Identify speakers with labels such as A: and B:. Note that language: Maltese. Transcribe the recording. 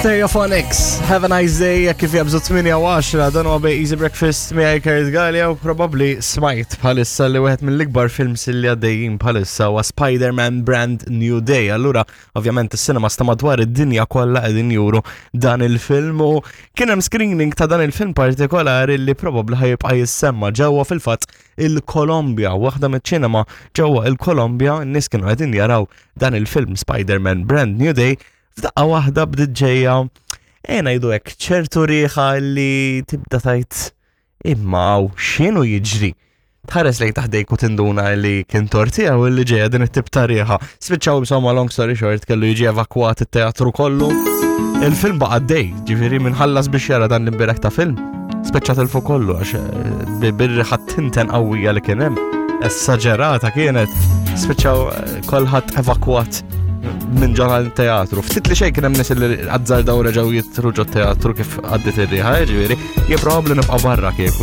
A: Stereophonics, have a nice day, jekk kif jabżu 8 u 10, dan huwa bej Easy Breakfast miegħi Kurt Gallia u probabbli smajt bħalissa li wieħed mill-ikbar films li għaddejjin bħalissa huwa Spider-Man Brand New Day. Allura, ovvjament is-cinema sta madwar id-dinja kollha qegħdin juru dan il-film u kien hemm screening ta' dan il-film partikolari li probabbli ħajibqa' jissemma ġewwa fil-fatt il-Kolombja, waħda miċ-ċinema ġewwa il-Kolombja, n-nies kienu qegħdin jaraw dan il-film Spider-Man Brand New Day f'daqqa waħda bdiet ġejja e ngħidu hekk ċertu riħa li tibda tajt imma hawn x'inhu jiġri. Tħares lejn taħdejk u tinduna li kien tortija u li ġejja din it-tip ta' riħa. Spiċċaw insomma long story short kellu jiġi evakwat it-teatru kollu. Il-film baqa' dej, ġifieri minħallas biex jara dan l-imbirek ta' film. Spiċċat il fuq kollu għax eh, bir-riħa tinten qawwija li kien hemm. Esaġerata kienet. Spiċċaw eh, kolħadd evakwat minn ġo teatru. Ftit li xejn kien hemm nies li azzardaw reġgħu jitru ġo teatru kif għaddit ir-riħa, ġifieri, jien probabbli nibqa' barra kieku.